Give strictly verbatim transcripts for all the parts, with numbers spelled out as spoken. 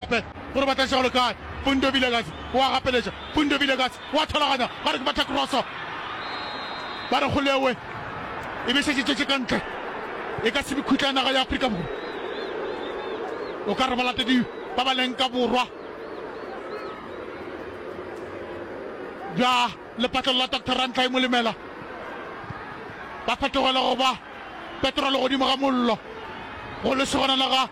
Gape gore ba tla iša go le kae. Fundo Vilakazi o a gapeletša. Fundo Vilakazi o a tholaganya. Ba re ke batha kroso. Ba re kgolewe e be šetše tšwetše ka ntle. E ka se be khutla ya naga ya Afrika Borwa. O ka re balatedi ba ba leng ka borwa bja lepatlelo la Doctor Rantlai Molemela ba fetogela go ba petrolo godimo ga mollo go lesogana la ga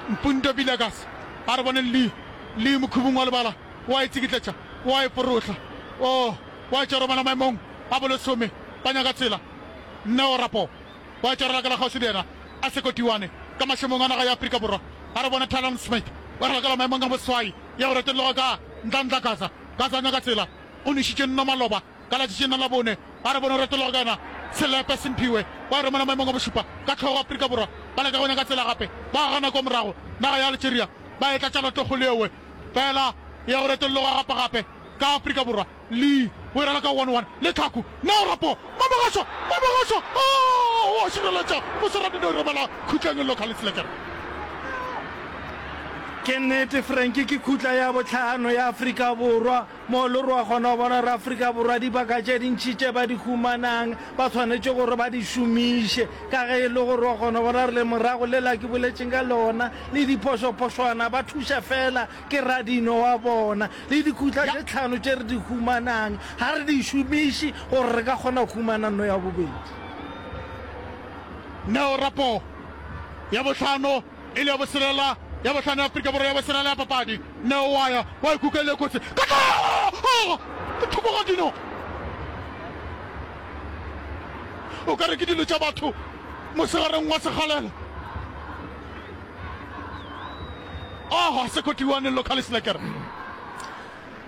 Mpundo Villegas. A re boneng Lee, Lee mokhubung wa lebala, o a e tsikitletša, o a e forohla. Oh, wa e tšea romela maemong a bolesome, ba nyaka tsela. Neo Rapo wa e tšea ralakela kgauswi le yena, a sekotiwane ka mašemong a naga ya Afrika Borwa. A re bone Talon Smith o ralakela maemong a boswai, ya go retolloga ka Nhlanhla Gaza. Gaza a nyaka tsela, o nwešitše nno maloba. Ka letšatšing la Labone, ba re bone retologa ka yona Selepe Simphiwe wa romela maemong a bošupa ka hlogo Afrika Borwa ba leka go nyaka tsela gape ba gana kwa morago naga ya Algeria ba etla tšaloto kgolo yewe fela ya go retolloga gape gape ka Afrika Borwa Lee o e raloka one one le tlhaku Neo Rapo Mamogašwa Mamogašwa oh o a šireletša Moswarabino o romela khutleng Local Slekere. Ke nnete Frankie ke khutla ya bohlano ya Afrika Borwa Mo le re wa kgona go bona gore Afrika Borwa dibaka tše dintši tše ba di humanang ba swanetše gore ba di šomiše ka ge e le gore wa kgona go bona gore lemorago lela ke boletšeng ka lona le diphošophošwana ba thuša fela ke radino wa bona le dikhutla tše tlhano tše re di humanang ga re di šomiše gore re ka kgona go humana nno ya bobedi. Neo Rapo ya bohlano E le ya boselela, ya bohlano ya Afrika Borwa, ya boselela ya papadi. Neo wa ya, wa ikuka e le kotsi. Ka tla! Thoko ga dino. O ka re ke dilo tša batho mosegareng wa sekgalela. Ah, Sekotiwane Local Slacker.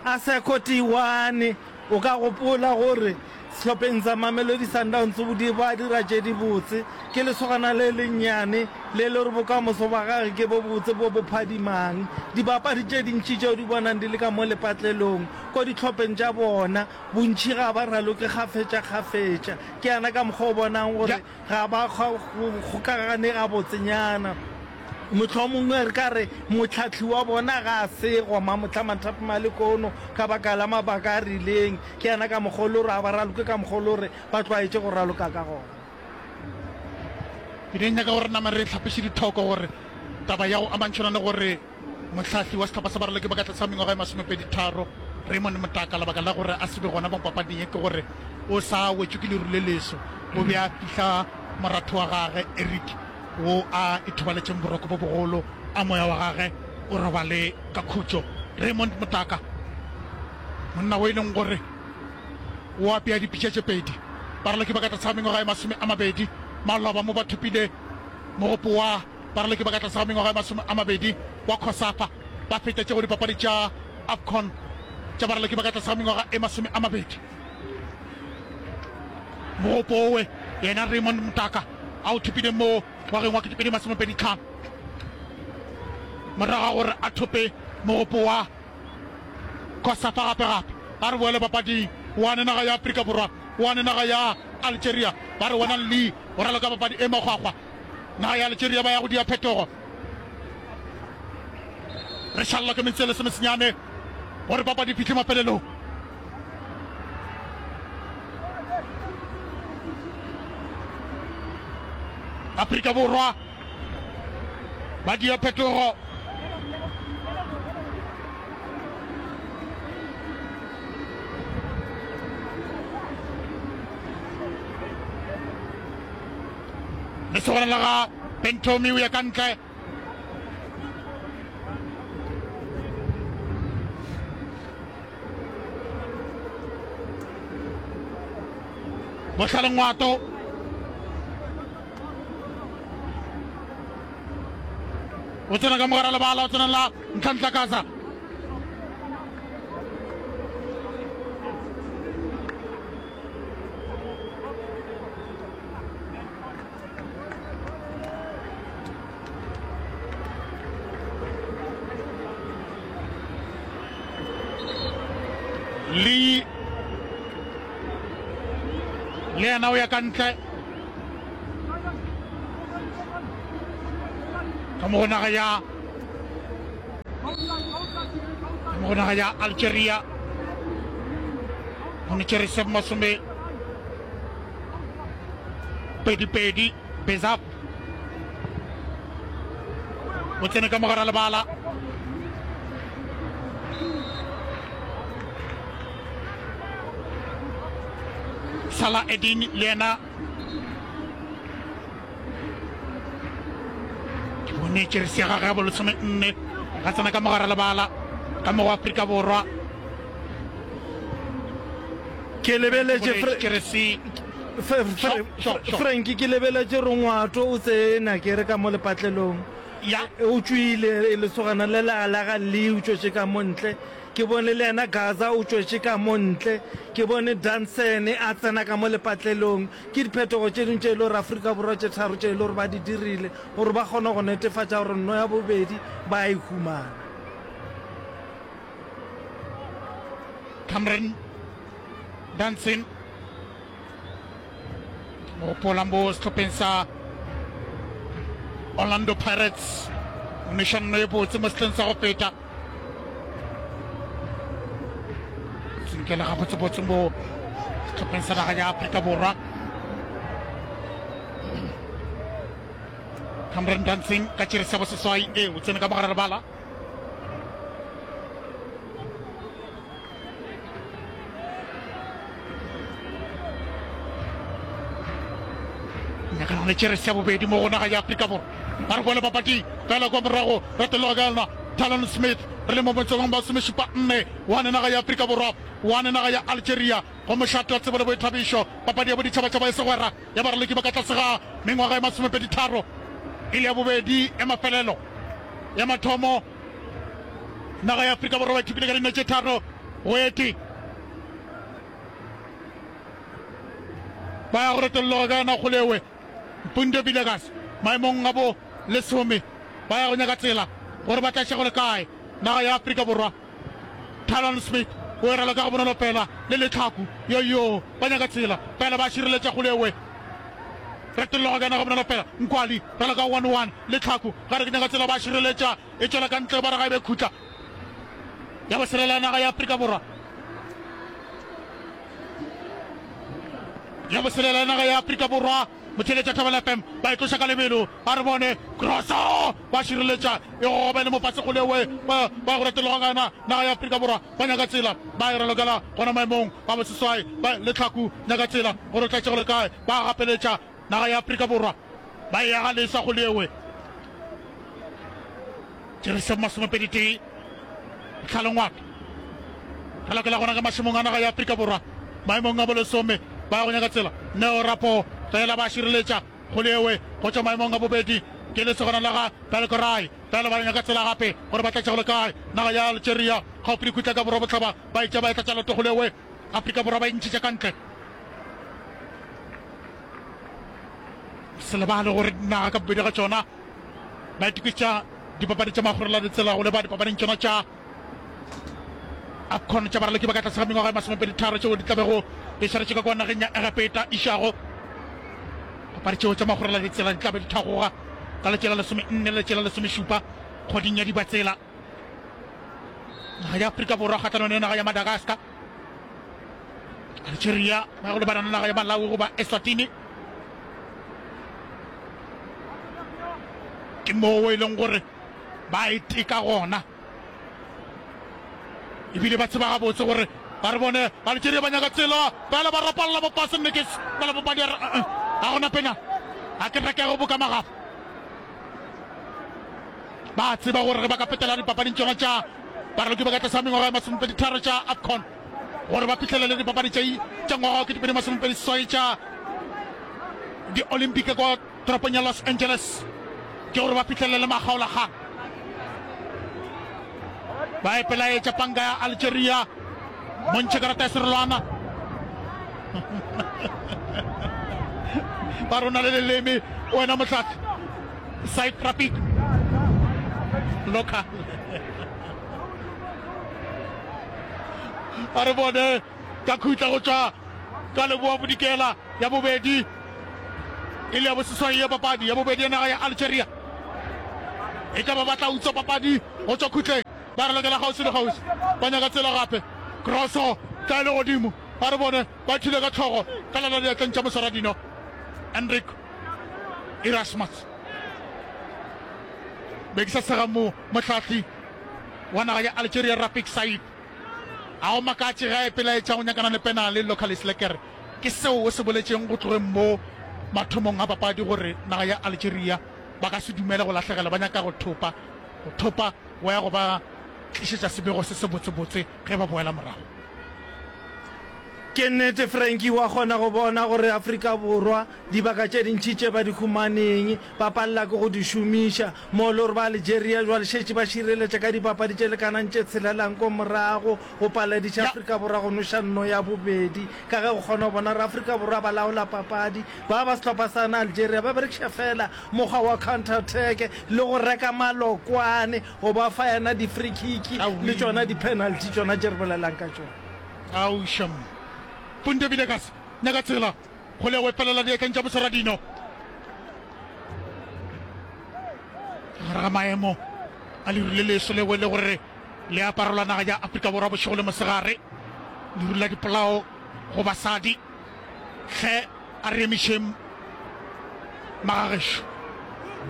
A Sekotiwane, o ka gopola gore Sehlopheng sa Mamelodi Sundowns di ba dira tše dibotse. Ke lesogana le lennyane le le gore bokamoso ba gage ke bo botse bo bo phadimang. Dibapadi tše dintši tšeo di bonang di le ka mo lepatlelong ko dihlopheng tša bona, bontši ga ba raloke kgafetšakgafetša. Ke yana ka mokgwa o bonang gore ga ba kgokagane gabotsenyana. Mohlomongwe re ka re mohlahli wa bona ga a segwa mamohla mathapama a lekono ka baka la mabaka a rileng. Ke yena ka mokgwa o le gore ga ba raloke ka mokgwa o le gore ba tlwaetše go raloka ka gona. Ke di nyaka gore nama re hlapiše dithoko gore taba ya go amantšhana le gore mohlahli wa sehlopha sa baraloki ba ka tlase ga mengwaga e masomepedi tharo Raymond Motaka lebaka la gore a se be gona mo papading ye ke gore o sa wetšwe ke leru le leso o be a fihla moratho wa gage Eric wo a ithobaletšeng boroko bo bogolo, a moya wa gage o robale ka khutšo. Raymond Motaka, monna wo e leng gore o apea dipitša tše pedi, baraloki ba ka tlase ga mengwaga e masome a mabedi maloba mo ba thopile mogopo wa baraloki ba ka tlase ga mengwaga e masome a mabedi wa COSAFA, ba fetetše go dipapadi tša AFCON tša baraloki ba ka tlase ga mengwaga e masome a mabedi. Mogopo owe yena Raymond Motaka a o thopile mo ngwageng wa ketepedi masomepedi tlhano morago ga gore a thope mogopo wa COSAFA gape gape. A re boele papading, wane naga ya Afrika Borwa, wane naga ya Algeria, ba re wena Lee o raloka papadi e makgwakgwa. Naga ya Algeria ba ya go dia phetogo. Re šalelwa ke metsotso e lesomesenyane gore papadi e fihle mafelelong. Afrika Borwa ba dia phetogo. Lesogana la ga Bentomi o ya ka ntle. Bohlale Ngwato o tsena ka mogara lebala o tsena la Ntlhantlha Kaza le le yena o ya ka ntle ka mo go naga ya Mo go naga ya Algeria go ne tšere masome pedi pedi Bezap o tsene ka mogara lebala. Salah Eddin le yena ke bone jeresi ya gagwe ya bolesome nne ga tsena ka mogara lebala ka mo go Afrika Borwa. Ke lebeletše jeresi Frank, ke lebeletše Rongwato o tsena ke re ka mo lepatlelong. Ya. O tšwile lesogana le la la ga Lee o tšwetše ka mo ntle. Ke bone le yena Gaza o tšwetše ka mo ntle. Ke bone Danson a tsena ka mo lepatlelong. Ke diphetogo tše dingwe tše e le gore Afrika Borwa tše tharo tše e le gore ba di dirile gore ba kgone go netefatša gore nno ya bobedi ba a e humana. Cameron Danson gopola mo sehlopheng sa Orlando Pirates o neša nno e botse mo sehleng sa go feta. Tsinkela gabotsebotse mo sehlopheng sa naga ya Afrika Borwa. Cameron Dancing ka tšere sa boseswai e o tsene ka mogare lebala. Nyakana le tšere sa bobedi mo go naga ya Afrika Borwa. Ba re boele papading fela kwa morago retologa ka yona Talon Smith re le mo motsong ba somešupa nne one naga ya Afrika Borwa one naga ya Algeria go mošate wa tsebo le boithabišo papadi ya boditšhabatšhaba e segwera ya baraloki ba ka tlase ga mengwaga e masomepedi tharo e le ya bobedi ya mafelelo ya mathomo naga ya Afrika Borwa ba ithupile ka dino tše tharo go ete ba ya go retolloga ka yona kgolewe Mpundo Villegas maemong a bo lesome ba ya go nyaka tsela gore ba tla šego le kae naga ya Afrika Borwa. Talon Smith o e raloka go bonolo fela le letlhaku yo yo ba nyaka tsela fela ba šireletša kgolewe retolloga ka yona go bonolo fela Nkwali raloka one one letlhaku ga re ke nyaka tsela ba šireletša e tšwela ka ntle ba re ga e be khutla ya boselela naga ya Afrika Borwa. Ya boselela naga ya Afrika Borwa motheeletša Thobela F M ba e tloša ka lebelo ba re bone kroso ba šireletša e gogobele mo fase kgolewe ba ba go retologa ka yona naga ya Afrika Borwa ba nyaka tsela ba e ralokela gona maemong ba boseswai ba letlhaku nyaka tsela gore o tlatše go le kae ba gapeletša naga ya Afrika Borwa ba e aga leswa kgolewe Jerusalem masomepedi tee Tlhalongwato re lokela gona ka mašemong a naga ya Afrika Borwa maemong a bolesome ba ya go nyaka tsela Neo Rapo fela ba šireletša kgolewe go tšwa maemong a bobedi ke lesogana la ga Belkorai fela ba nyaka tsela gape gore ba tlatše go le kae naga ya Algeria gaufi le khutla ka borwa bohlaba ba etša ba e tlatša loto kgolewe Afrika Borwa ba e ntšhetša ka ntle se lebale gore naga ka bobedi ga tšona ba itokišetša dipapadi tša magorela ditsela go leba dipapading tšona tša AFCON tša baraloki ba ka tlase ga mengwaga e masomepedi tharo tšeo di tlabego di swaretše ka kwa nageng ya Egepeta išago. Papadi tšeo tša magorela ditsela di tlabe di thagoga ka letše la lesome nne le letše la lesomešupa kgweding ya Dibatsela. Naga ya Afrika Borwa kgahlanong le naga ya Madagascar, Algeria ba ya go lebana le naga ya Malawi goba Eswatini. Ke moo e leng gore ba e teka gona ebile ba tseba gabotse gore ba re bone Algeria ba nyaka tsela fela ba rapalla bopase nnekes fela bopadi a re ga gona pena ga ke rekego boka magafa. Ba tseba gore ge ba ka fetela dipapading tšona tša baraloki ba ka tlase ga mengwaga e masomepedi tharo tša AFCON gore ba fihlelele dipapadi tša tša ngwaga wa ketepedi masomepedi seswai tša di-Olympic kwa toropong ya Los Angeles ke gore ba fihlelele makgaolakgang. Ba ipelaetša panka ya Algeria montšhe karata ya serolwana ba rona le leleme wena mohlahli Side traffic local a re bone ka khutla go tšwa ka leboa bodikela ya bobedi e le ya boseswai ya papadi ya bobedi ya naga ya Algeria e ka ba ba tla utswa papadi go tšwa khutleng. Ba re lokela kgauswi le kgauswi. Ba nyaka tsela gape. Kroso tla e le godimo. Ba re bone ba thule ka tlhogo ka lala diatleng tša moswaradino Enrique Erasmus. Be ke sa sega mo mohlahli wa naga ya Algeria Rafik Said. A go makatše ge a ipelaetša go nyakana le penale Localis Lekker. Ke seo o se boletšeng go tlogeng mo mathomong a papadi gore naga ya Algeria ba ka se dumele go lahlegelwa, ba nyaka go thopa. Go thopa go ya go ba tlišetša sebego se sebotsebotse ge ba boela morago. Ke nnete, Frankie, wa kgona go bona gore Afrika Borwa dibaka tše dintši tše ba di humaneng ba palela ke go di šomiša. Mo le gore ba Algeria jwale šetše ba šireletša ka dipapadi tše lekanang tše tshelelang ko morago go palediša Afrika Borwa go noša nno ya bobedi. Ka ge go kgona go bona gore Afrika Borwa ba laola papadi, ba ba sehlopha sa na Algeria ba berekiša feela mokgwa wa counter attack le go reka malokwane go ba fa yena di-free kick le tšona di-penalty tšona tše re bolelang ka tšona. Ao sham. Punte Villegas nyaka tsela go le go felela diatleng tša Moswaradino. Gare ga maemo a leru le leso leo le gore le aparelwa naga ya Afrika Borwa bošego le mosegare, leru la dipolao go basadi. Hle a re emišeng magagešo.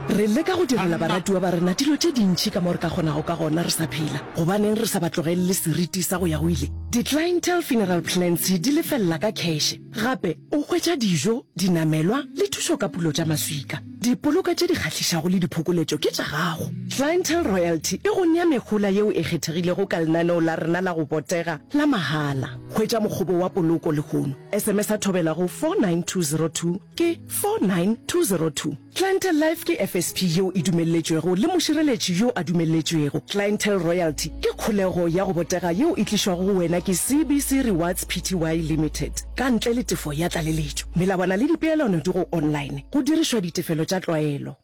Re leka go direla baratiwa ba rena dilo tše dintši ka mo re ka kgonago ka gona re sa phela. Gobaneng re sa ba tlogelele seriti sa go ya go ile? Di-Clientele Funeral Plans di lefelela ka kheše. Gape o hwetša dijo, dinamelwa le thušo ka pulo tša maswika. Dipoloka tše di kgahlišago le diphokoletšo ke tša gago. Clientele Royalty e go nea mehola yeo e kgethegilego ka lenaneo la rena la go botega la mahala. Hwetša mokgobo wa poloko lehono. S M S a thobela go four nine two zero two ke four nine two zero two. Clientele Life ke F S P yeo e dumelletšwego le mošireletši yo a dumelletšwego. Clientele Royalty ke kholego ya go botega yeo e tlišwago go wena ke C B C Rewards Pty Limited ka ntle le tefo ya tlaleletšo. Melawana le dipeelano di go online go dirišwa ditefelo tša tlwaelo.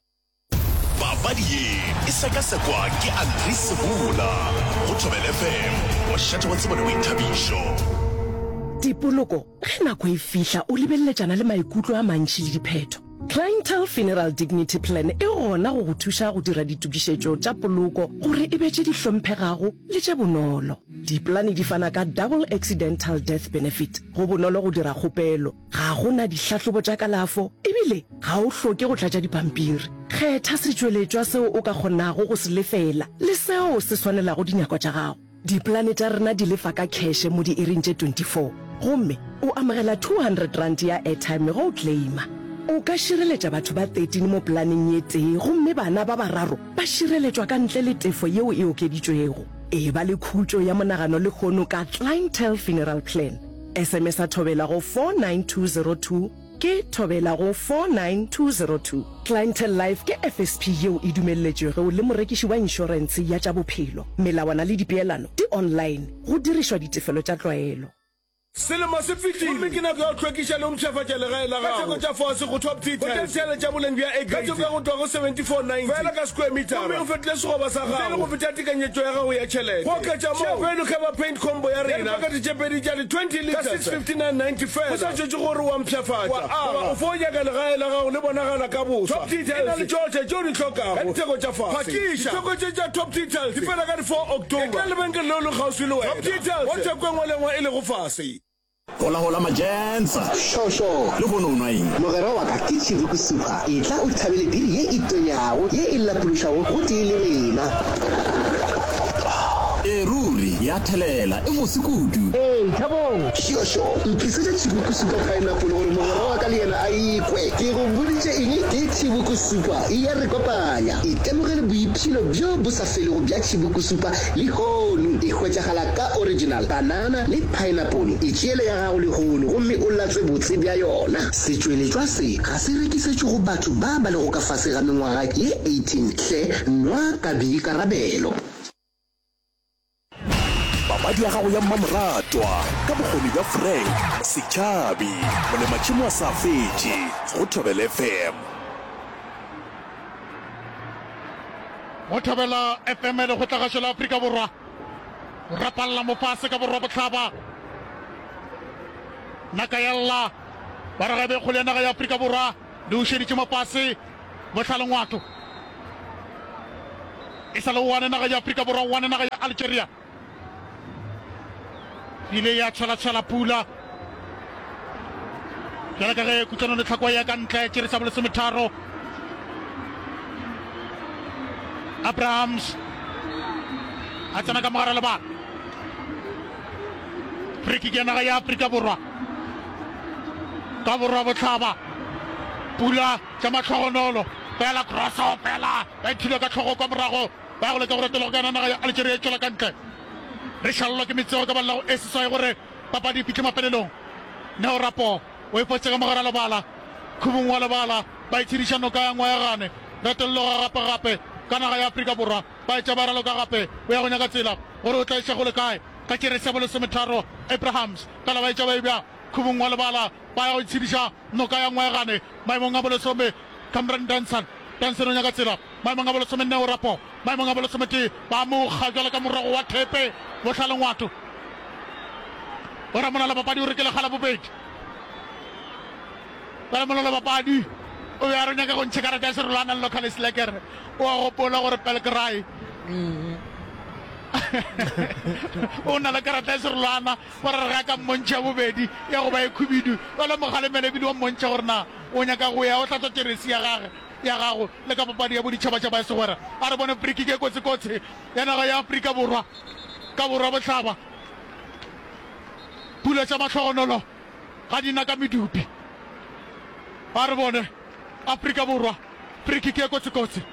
Papadi ye e sekasekwa ke Andri Sebola go Thobela F M, mošate wa tsebo le boithabišo. Dipoloko, ge nako e fihla o lebeleletšana le maikutlo a mantši le diphetho. Clientele Funeral Dignity Plan e gona go go thuša go dira ditokišetšo tša poloko gore e be tše di hlomphegago le tše bonolo. Dipolane di fana ka Double Accidental Death Benefit. Go bonolo go dira kgopelo, ga go na dihlahlobo tša kalafo ebile ga o hloke go tlatša dipampiri. Kgetha setšweletšwa seo o ka kgonago go se lefela le seo se swanelago dinyakwa tša gago. Dipolane tša rena di lefa ka kheše mo diiring tše twenty four gomme o amogela two hundred rand ya airtime ge o claima. O ka šireletša batho ba thirteen mo polaneng ye tee gomme bana ba bararo ba šireletšwa ka ntle le tefo yeo e okeditšwego. Eba le khutšo ya monagano lehono ka Clientele Funeral Plan. S M S a thobela go four nine two zero two ke thobela go four nine two zero two. Clientele Life ke F S P yeo e dumelletšwego le morekiši wa inšorentshe ya tša bophelo. Melawana le dipeelano di online go dirišwa ditefelo tša tlwaelo. Selemo se fetile gomme ke nako ya go hlwekiša le go mpshafatša legae la gago ka theko tša fase go Top Tea Tiles. Hwetša tša boleng bja A grade ka theko ya go tloga go seventy-four ninety feela ka square meter gomme o fetole sekgoba sa gago ntle le go feta tekanyetšo ya gago ya tšhelete. Go oketša moo, Value Cover Paint Combo ya rena ya dipakete tše pedi tša di twenty litres ka six fifty-nine ninety feela. Go sa šetšwe gore o a mpshafatša goba o fo nyaka legae la gago le bonagala ka boswa, Top Tea Tiles e na le tšohle tše o di hlokago ka ditheko tša fase. Phakiša! Ditheko tše tša Top Tea Tiles di fela ka di four October. Etela lebenkele leo le kgauswi le wena Top Tea Tiles mo theko e nngwe le e nngwe e lego fase. Hola hola majensa. Šošo. Lehono o nwa eng? Mogwera wa ka ke Chibuku Super. Etla o thabele biri ye e tonyago, ye e lapološago gotee le rena. Ee ruri, ya thelela, e bose kudu. Ee, Thabong. Šošo, ntlisetše Chibuku Super Pineapple gore mogwera wa ka le yena a e kwe. Ke go boditše eng? Ke Chibuku Super, e ya re kopanya. Itemogele boipshino bjo bo sa felego bja Chibuku Super lehono. E hwetšagala ka original, banana le pineapple. Itšeele ya gago lehono gomme o latswe botse bja yona. Setšweletšwa se ga se rekisetšwe go batho ba ba lego ka fase ga mengwaga ye eighteen. Hle nwa ka boikarabelo. Papadi ya gago ya mmamoratwa ka bokgoni bja Frank Setšhabi, molematšhemo a sa fetše go Thobela F M. Go Thobela F M, lekgotlagašo la Afrika Borwa, o rapalla mofase ka borwa-bohlaba. Naka ya lla, ba re gabe kgole ya naga ya Afrika Borwa le ušeditše mofase bohlalengwato. E sa le one naga ya Afrika Borwa, one naga ya Algeria. Ile ya tshwela-tshwela pula bjale ka ge Kutlwano Letlhakwa ya ka ntle tšere sa bolesometharo. Abrahams a tsena ka mogare lebala. Free kick ya naga ya Afrika Borwa ka borwa bohlaba. Pula tša mahlogonolo fela crosso fela ba ithula ka tlhogo kwa morago ba ya go leka go retologa ka yona naga ya Algeria e tšwela ka ntle. Re šalelwa ke metsego ka ballago e seswai gore papadi e fihle mafelelong. Neo Rapo o e fotše ka mogare lebala khubung wa lebala ba itshediša noka ya Ngwayagane. Retolloga gape gape ka naga ya Afrika Borwa ba etša ba raloka gape o ya go nyaka tsela gore o tla iša go le kae ka tšeresi ya bolesometharo Abrahams fela ba etša ba e bja khubung wa lebala ba ya go itshediša noka ya Ngwayagane maemong a bolesome Cameron Danson Danson o nyaka tsela maemong a bolesome Neo Rapo maemong a bolesometee ba mo kga bjalo ka morogo wa thepe bohlalengwato o ra molala papadi o re ke lekga la bobedi bjale molala papadi o be a re nyaka go ntšha karata ya serolwana le local slacker o a gopola gore Pelkrai o na le karata ya serolwana gore re ga ka mmontšha bobedi ya go ba e khubidu bjale mogalemele ebile wa mmontšha gore na o nyaka go ya o hlatswa jeresi ya gage ya gago le ka papadi ya boditšhabatšhaba ya segwera. A re bone free-kick e kotsi-kotsi ya naga ya Afrika Borwa ka borwa-bohlaba. Pula tša mahlogonolo ga di na ka medupi. A re bone Afrika Borwa free-kick e kotsi-kotsi.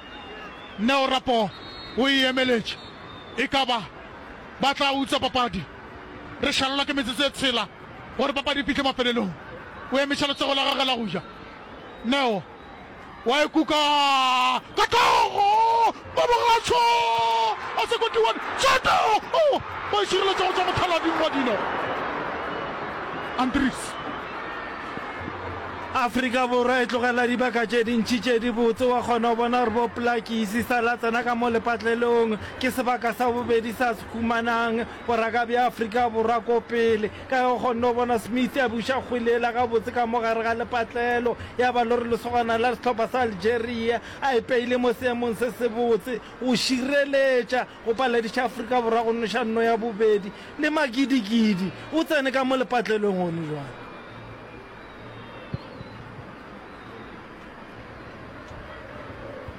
Neo Rapoo o e emeletše. E ka ba ba tla utswa papadi. Re šalelwa ke metsotso e tshela gore papadi e fihle mafelelong. O emiša letsogo la gagwe la go ja. Neo. Wa e kuka ka hlogo Mabogatsho a Sekotiwane Soto o ba e šireletša go tšwa mothalading wa dino Andries. Afrika Borwa e tlogela dibaka tše dintši tše dibotse. Wa kgona go bona gore bo Plakisi sa la tsena ka mo lepatlelong. Ke sebaka sa bobedi sa se humanang boraka bja Afrika Borwa ko pele. Ka ge o kgonne go bona Smith a buša kgwele yela gabotse ka mo gare ga lepatlelo, ya ba lore lesogana la sehlopha sa Algeria a ipeile mo seemong se sebotse go šireletša go palediša Afrika Borwa go noša nno ya bobedi le makidikidi o tsene ka mo lepatlelong gone jwale.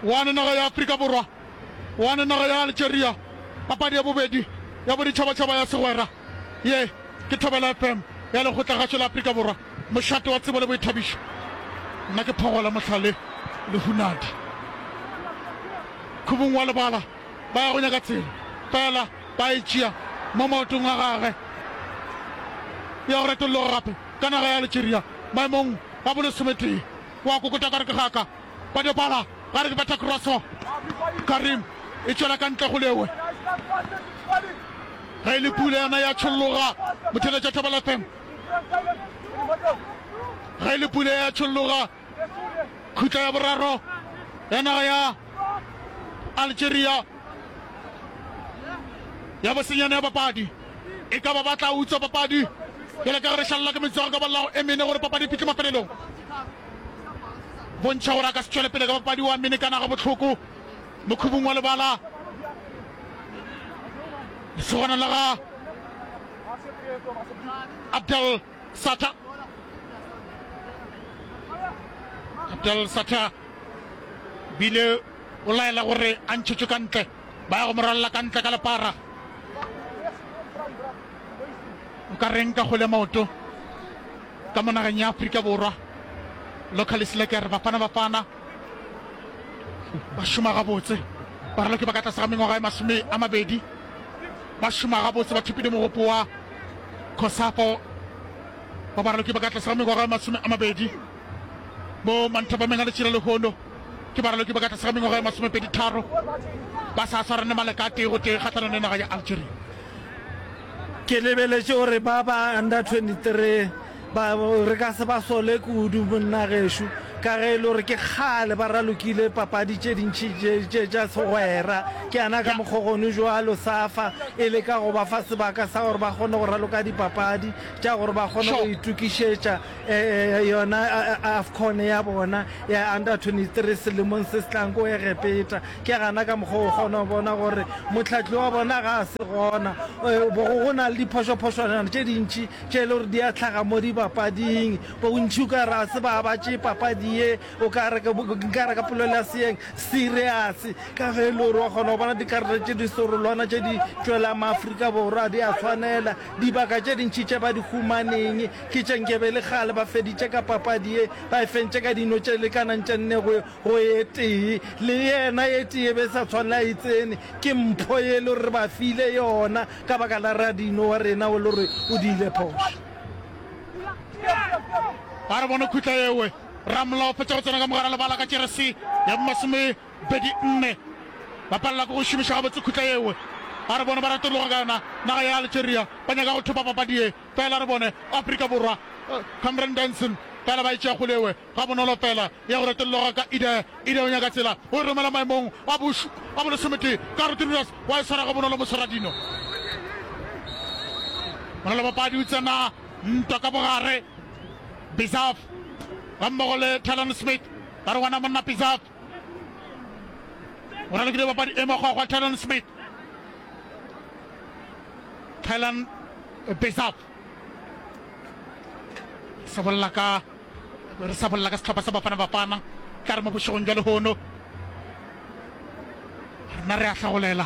One naga ya Afrika Borwa, one naga ya Algeria, papadi ya bobedi ya boditšhabatšhaba ya segwera. Ye ke Thobela F M ya Lekgotlagašo la Afrika Borwa, mošate wa tsebo le boithabišo. Nna ke Phogola Mohlale Lehunadi. Khubung wa lebala ba ya go nyaka tsela, fela ba e tšea mo maotong a gagwe ya go retolloga gape ka naga ya Algeria maemong a bolesometee. Wa kokota ka re ke gaka. Badebala ga re ke betha kroso. Karim e tšwela ka ntle go lewe. Ge e le pula yona ya tšholloga motheletša Thobela F M. Ge e le pula ya tšholloga khutla ya boraro ya naga ya Algeria ya bosenyane ya papadi e ka ba ba tla utswa papadi bjale ka ge re šalela ke metsogo ka bolago e mene gore papadi e fihle mafelelong. Bontšha gore a ka se tšwele pele ka papadi wa menekana gabohloko mokhubung wa lebala. Lesogana la ga Abdel Sata. Abdel Sata bile o laela gore a ntšhetšwe ka ntle. Ba ya go mo rwalela ka ntle ka lepara. O ka reng ka kgwele ya maoto ka mo nageng ya Afrika Borwa? Locally Slacker, Bafana Bafana ba šoma gabotse. Baraloki ba ka tlase ga mengwaga e masome a mabedi ba šoma gabotse, ba thopile mogopo wa COSAFA wa baraloki ba ka tlase ga mengwaga e masome a mabedi mo manthapameng a letšila lehono. Ke baraloki ba ka tlase ga mengwaga e masomepedi tharo ba sa swarane maleka a tee go tee kgahlanong le naga ya Algeria. Ke lebeletše gore ba ba under twenty three ba re ka se ba sole kudu monna gešo. Ka ge e le gore ke kgale ba ralokile papadi tše dintši tše, tše tša segwera, ke yana ka mokgo gone bjalo SAFA e leka go ba fa sebaka sa gore ba kgone go raloka dipapadi tša gore ba kgone go itokišetša yona AFCON ya bona ya Under twenty three selemong se se tlang ko Egepeta. Ke gana ka mokgo o kgona go bona gore mohlahli wa bona ga a se gona. Go, go na le diphošophošwana tše dintši tše e le gore di a hlaga mo dipapading. Bontši o ka re ga se ba ba tšee papadi ye, o ka re, nka re ka polelo ya seeng, serious, ka ge e le gore wa kgona go bona dikarata tše di serolwana tše di tšwelang Maafrika Borwa di a tshwanela. Dibaka tše dintši tše ba di humaneng ke tše nkebe e le kgale ba feditše ka papadi ye, ba e fentše ka dino tše lekanang tše nne go go ye tee. Le yena ye tee e be e sa tshwanela e tsene, ke mpho ye e le gore re ba file yona ka baka la radino wa rena o le gore o diile phošo. Ba re bone khutla yewe. Ramolao fetša go tsena ka mogara lebala ka jeresi ya masomepedi nne. Ba palela ke go šomiša gabotse khutla yewe. Ba re bone ba retologa ka yona naga ya Algeria. Ba nyaka go thopa papadi ye. Fela re bone Afrika Borwa. Cameron Danson fela ba e tšea kgole yewe. Gabonolo fela ya go retolloga ka Ide. Ide o nyaka tsela, o e romela maemong a boš a bolesometee. Ka Rodriguez wa e swara gabonolo moswaradino. Molelobapadi o tsena ntwa ka bogare. Bizaf gammogo le Talon Smith ba re wena monna Bizaf o ralokile bapadi e makgwakgwa. Talon Smith, Talon Bizaf se bolela ka re sa bolela ka sehlopha sa Bafana Bafana tla re mo bošegong bja lehono rena re a hlagolela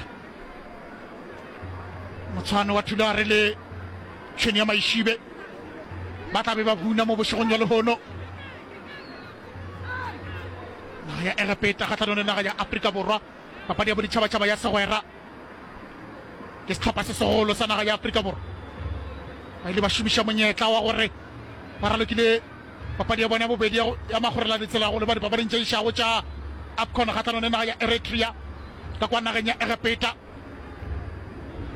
motshwane wa Thulare le tšhwene ya Maišibe ba tla be ba buna mo bošegong bja lehono. Naga ya Egepeta kgahlanong le naga ya Afrika Borwa, papadi ya boditšhabatšhaba ya segwera. Ke sehlopha se segolo sa naga ya Afrika Borwa. Ba ile ba šomiša monyetla wa gore ba ralokile papadi ya bona ya bobedi ya magorela ditsela go leba dipapading tše išago tša AFCON kgahlanong le naga ya Eritrea ka kwa nageng ya Egepeta.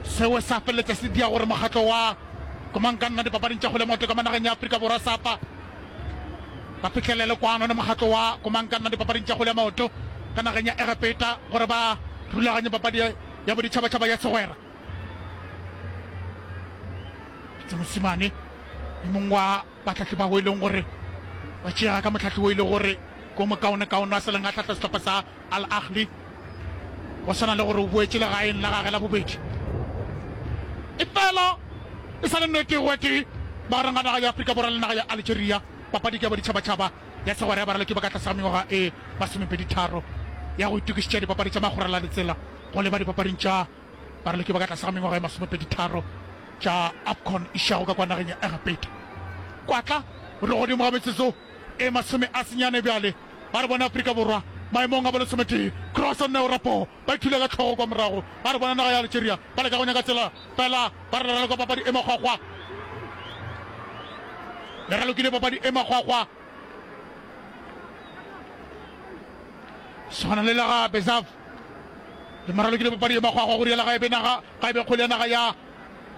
Seo sa feleletša se dia gore mokgatlo wa Komangkanna dipapading tša kgwele ya maoto ka mo nageng ya Afrika Borwa, SAFA, ba fihlelele kwano le mokgatlo wa Komangkanna dipapading tša kgwele ya maoto ka nageng ya Egepeta gore ba rulaganye papadi ya boditšhabatšhaba ya segwera. Pitso Mosimane, yo mongwe wa bahlahli bao e leng gore ba tšeega ka mohlahli wo e le gore ke o mokaonekaone a sa leng a hlahla sehlopha sa Al Ahly, go swana le gore o boetše legaeng la gage la bobedi. Efela e sa le nnete go tee magareng ga naga ya Afrika Borwa le naga ya Algeria, papadi ke ya boditšhabatšhaba ya segwera ya baraloki ba ka tlase ga mengwaga e masomepedi tharo ya go itokišetša dipapadi tša magorela le tsela go leba dipapading tša baraloki ba ka tlase ga mengwaga e masomepedi tharo tša AFCON išago ka kwa nageng ya Egepeta. Kwatla re godimo ga metsotso e masome a senyane bjale. Ba re bona Afrika Borwa maemong a bolesometee. Cross Neo Rapo ba ithula ka hlogo kwa morago. Ba re bona naga ya Algeria ba leka go nyaka tsela fela ba re raloka papadi e makgwakgwa. Le ralokile papadi e makgwakgwa. Swana le la ga Bezav. Le moralokile papadi e makgwakgwa go riela ga e be naga ga e be kgwele ya naga ya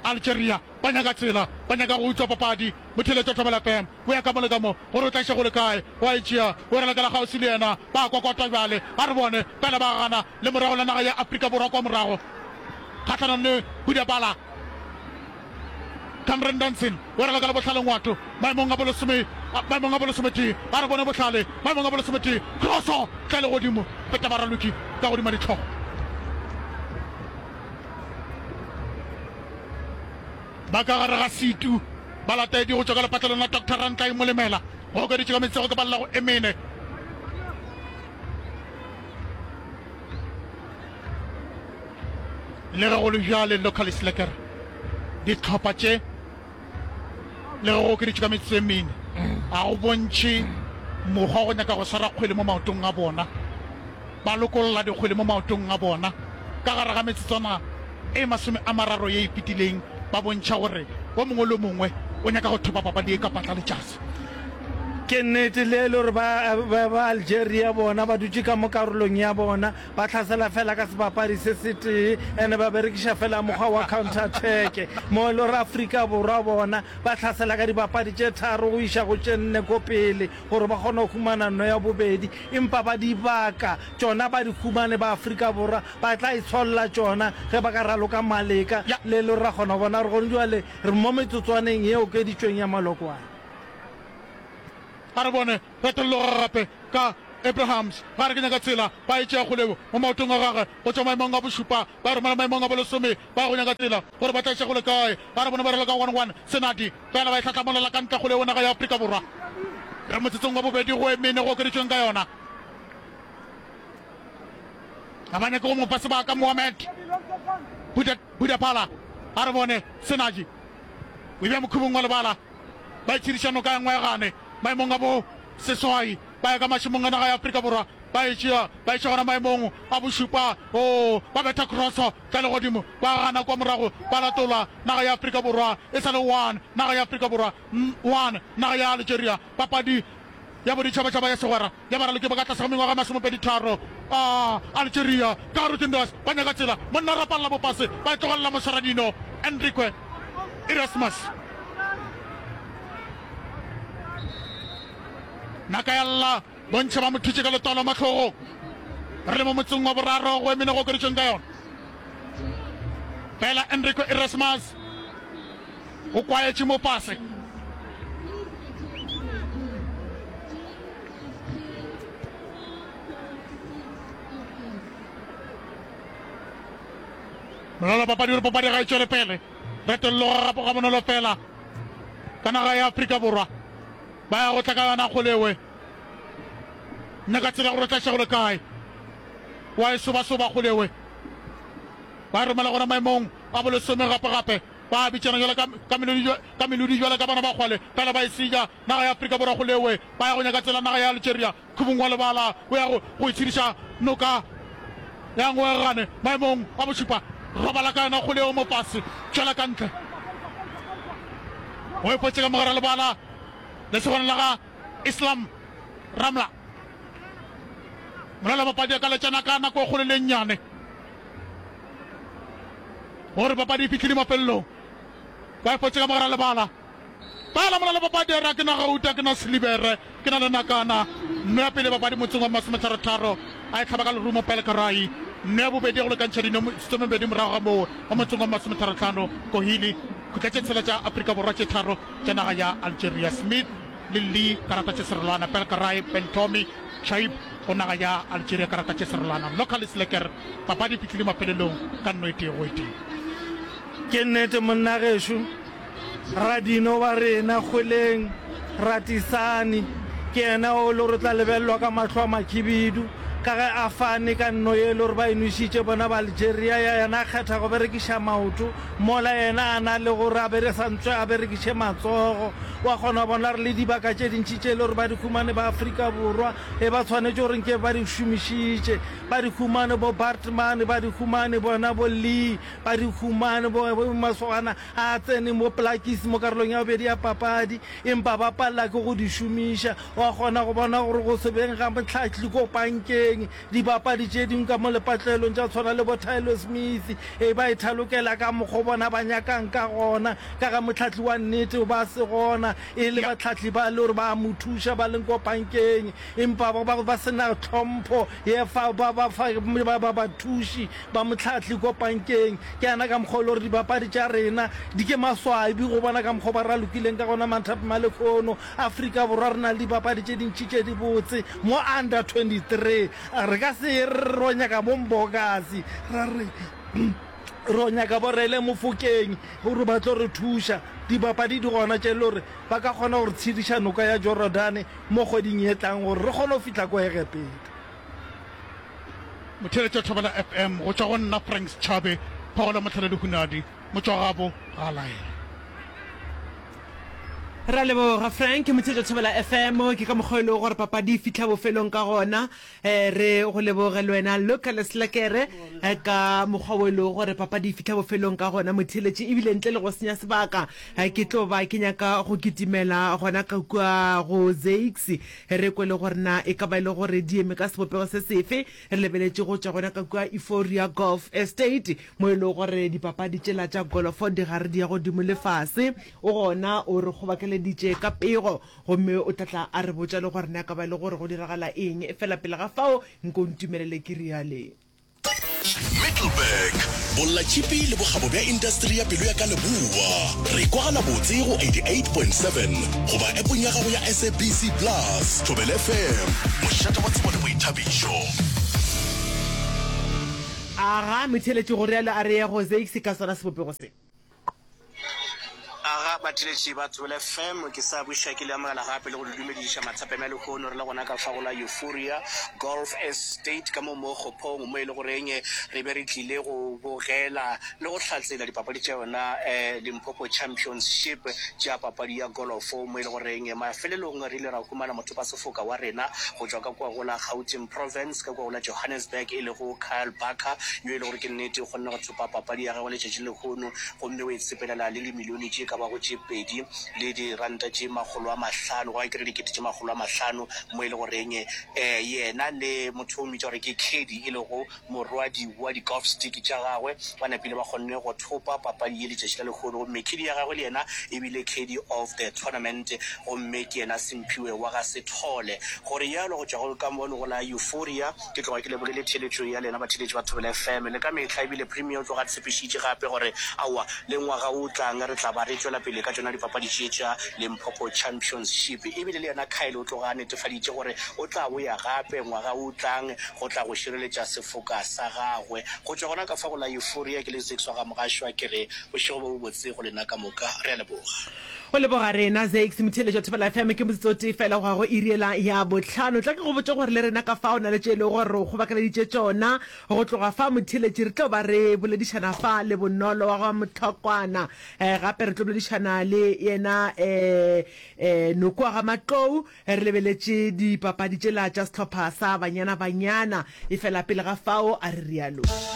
Algeria. Ba nyaka tsela, ba nyaka go utswa papadi. Motheeletši wa Thobela F M o ya ka mo le ka mo gore o tla iša go le kae. O a e tšea, o e ralokela kgauswi le yena. Ba a kokota bjale. A re bone. Fela ba gana le morago la naga ya Afrika Borwa kwa morago kgahlanong le Budapala. Cameron Danson o e ralokela Bohlale Ngwato maemong a bolesome, maemong a bolesometee. A re bone Bohlale maemong a bolesometee. Kroso tla le godimo, feta baraloki ka godima dihlogo. Ba ka gare ga setu ba lataedi go tšwa ka lepatlelong la Doctor Rantlai Molemela go okeditše ka metsego ke ballago e mene. Le ge go le bjale, Local Slacker dihlopha tše le ge go okeditšwe ka metsotso e mene ga go bontšhe mokgwa wa go nyaka go swara kgwele mo maotong a bona. Ba lokolla dikgwele mo maotong a bona ka gare ga metsotswana e masome a mararo ye e fetileng, ba bontšha gore o mongwe le o mongwe o nyaka go thopa papadi ye ka patla letšatsi. Ke nnete le e le gore ba, ba, ba Algeria bona ba dutše ka mo karolong ya bona, ba hlasela fela ka sebapadi se setee ene ba berekiša fela mokgwa wa counter attack, mo e le gore Afrika Borwa bona ba hlasela ka dibapadi tše tharo go iša go tše nne ko pele gore ba kgone go humana nno ya bobedi. Empa ba dibaka tšona ba di humane ba Afrika Borwa ba tla itsholla tšona ge ba ka raloka maleka le e le gore ra kgona go bona gore gone bjale re mo metsotswaneng ye okeditšweng ya malokwane. A re bone retolloga gape ka Abrahams. Ga re ke nyaka tsela, ba e tšea kgoleo mo maotong a gagwe go tšwa maemong a bošupa ba e romela maemong a bolesome. Ba ya go nyaka tsela gore ba tla iša kgole kae. A re bone ba raloka one one Senadi fela ba e hlahlamolela ka ntle kgoleo naga ya Afrika Borwa. Re motsotsong wa bobedi go e mene go okeditšweng ka yona. Ga ba nyake go mo fa sebaka Mohamed Budapala. A re bone Senaji o e bea mokhubung wa lebala. Ba itshediša noka ya Ngwegane maemong a bo seswai, ba ya ka mašemong a naga ya Afrika Borwa, ba e tšea ba iša gona maemong a bošupa. Oo, ba betha kroso tla legodimo, ba gana kwa morago, ba latola naga ya Afrika Borwa. E sa le one naga ya Afrika Borwa, one naga ya Algeria. Papadi ya boditšhabatšhaba ya segwera ya baraloki ba ka tlase ga mengwaga e masomepedi tharo a Algeria ka gare Tundras ba nyaka tsela, monna rapalla bopase ba e tlogelela moswaradino Enrique Erasmus. Naka ya lla, bontši ba mo thutše ka letolo mahlogong. Re le mo motseng wa boraro go emene go okeditšweng ka yona. Fela Enrique Erasmus o kwaetše mo fase. Molala papadi o re papadi ga e tšwele pele. Retolloga gape ga bonolo fela ka naga ya Afrika Borwa. Ba ya go tla ka yona kgolewe. Nna ka tseba gore o tla šego le kae. Wa e sobasoba kgolewe. Ba e romela gona maemong a bolesome gape gape. Ba bitšana jwalo ka, ka melodi, ka melodi jwalo ka bana ba kgwale, fela ba e senya. Naga ya Afrika Borwa kgolewe. Ba ya go nyaka tsela naga ya Algeria. Khubung wa lebala o ya go, go itshediša noka ya Ngoegane maemong a bošupa. Robala ka yona kgole eo mo fase, tšwela ka ntle. O e fotše ka mogare lebala lesogana la ga Islam Ramla. Molela papadi a ka letšana ka nako e kgolo le e nnyane gore papadi e fihlile mafelelong. Ba e fotše ka mogare lebala. Bala molala papadi a re, Ke na gauta, ke na silibere, ke na le nakana. Nno ya pele papadi motseng wa masometharo-tharo a e hlaba ka lerumo Pelkarai. Nno ya bobedi ya go lekantšha dino metsotso morago ga moo mo motseng wa masometharo-hlano Kohili. Khutla tše tshela tša Afrika Borwa tše tharo tša naga ya Algeria Smith le Lee karata tše serolwana Pelkarai, Bentomi, Chaib go naga ya Algeria karata tše serolwana Lokalis Lekker. Papadi e fihlile mafelelong ka nno e tee go e tee. Ke nnete monna gešo. Radino wa rena kgweleng, Ratisani, ke yena o le gore o tla lebelelwa ka mahlo a makhibidu ka ge a fane ka nno ye e le gore ba e nwešitše bona ba Algeria ya yena a kgetha go berekiša maoto mola yena a na le gore a bere sa ntswe a berekiše matsogo. Wa kgona go bona gore le dibaka tše dintši tše e le gore ba di humane ba Afrika Borwa e ba tshwanetše gore nke ba di šomišitše ba di humane bo Baartman ba di humane bona bo Lee ba di humane bo masogana A tsene mo Plakkies mo karolong ya bobedi ya papadi, empa ba palela ke go di šomiša. Wa kgona go bona gore go se beng ga mohlahli ko pankeng, dibapadi tše dingwe ka mo lepatlelong tša tshwana le bo Tyler Smith e ba e thalokela ka mokgo bona ba nyakang ka gona, ka ga mohlahli wa nnete o ba se gona, e le bahlahli ba le gore ba a mo thuša ba leng ko pankeng, empa ba ba ba se na tlhompho ye fa ba ba fa ba ba bathuši ba mohlahli ko pankeng. Ke yana ka mokgwa o le gore dibapadi tša rena di ke maswabi go bona ka mokgwa ba ralokileng ka gona manthapama lekhono. Afrika Borwa re na le dibapadi tše dintši tše dibotse mo under twenty three. Re ka se re ro nyaka bo Mbokazi, ra re ro nyaka bo Rele Mofokeng gore ba tlo re thuša. Dibapadi di gona tše le gore ba ka kgona go re tshediša noka ya Jorodane mo kgweding ye tlang gore re kgone go fihla ko Egepeta. Motheeletši wa Thobela F M, go tšwa go nna Frank Setšhabe, Phogolo Mohlale Lehunadi, Motšwagabo ga a laele. Ra leboga Frank Motheetša Thobela F M, ke ka mokgwa e lego gore papadi e fihla bofelong ka gona. um Re go leboge le wena Luka Leslekere ka mokgwa wo e lego gore papadi e fihla bofelong ka gona motheeletši. Ebile ntle le go senya sebaka ke tlo ba ke nyaka go kitimela gona ka kua go Zakes, re kwe le gore na e ka ba e le gore di eme ka sebopego se sefe. Re lebeletše go tšwa gona ka kua Euphoria Golf Estate mo e lego gore dipapadi tšela tša golofo di gare di ya godimo le fase. O gona o re kgobakeleditše ka pego gomme o tla tla a re botša le gore na ka ba e le gore go diragala eng. Efela pele ga fao nko ntumelele ke riale. Middelburg, Bollatšhipi le bokgabo bja indasteri ya pelo ya ka leboa. Re kwagala botse go eighty-eight point seven goba appong ya gago ya S A B C Plus. Thobela F M, mošate wa tsebo le boithabišo. Aga motheeletši go rialo a re ye go Zakes ka sona sebopego se. Aga batheletši ba Thobela F M, ke sa buša ke le amogela gape le go le dumediša mathapeng a lehono. Re le gona ka fa go la Euphoria Golf Estate ka mo mo Kgophong, mo e le goreng re be re tlile go bogela le go hlatsela dipapadi tša yona um Limpopo Championship tša papadi ya golofo, mo e le goreng mafelelong re ile ra humana mothopasefoka wa rena go tšwa ka kua go la Gauteng Province, ka kua go la Johannesburg, e lego Kyle Barker, yo e le gore ke nnete o kgonne go thopa papadi ya gagwe letšatši lehono, gomme o e tsepelela le limilione tše ka bago tše pedi le diranta tše makgolo a mahlano, goba ke re dikete tše makgolo a mahlano, mo e le goreng um yena le motho o mmitša gore ke Caddy, e lego morwadi wa di-golf stick tša gagwe, ba napile ba kgonne go thopa papadi ye letšatši la lehono. Gomme caddy ya gagwe le yena e bile caddy of the tournament, gomme ke yena Semphiwe wa ga Sethole. Go realo go tšwa go ka mono go la Euphoria, ke tloga ke lebogile theeletšo ya lena batheeletši ba Thobela F M le ka mehla, ebile Premier o tloga a tshepišitše gape gore aowa le ngwaga o tlang re tla ba re tšwela pele ka tšona dipapadi tše tša Limpopo Championship. Ebile le yena Kyle o tloga a netefaditše gore o tla boya gape ngwaga o tlang go tla go šireletša sefoka sa gagwe. Go tšwa gona ka fa go la Euphoria, ke le Zakes wa ga Mogašwa, ke re bošego bo bobotse go lena ka moka. Re a leboga. Go leboga rena, Zakes. Motheeletši wa Thobela F M, ke motsotso o tee fela go ya go iri yela ya bohlano. Tla ke go botše gore le rena ka fa o na le tše e lego gore re o kgobakeleditše tšona. Go tloga fa motheeletši re tlo ba re boledišana fa le Bonolo wa ga Mohlokwana. Gape re tlo boledišana le yena Noko wa ga Matlou re lebeletše dipapadi tšela tša sehlopha sa Banyana Banyana. Efela pele ga fao a re rialo.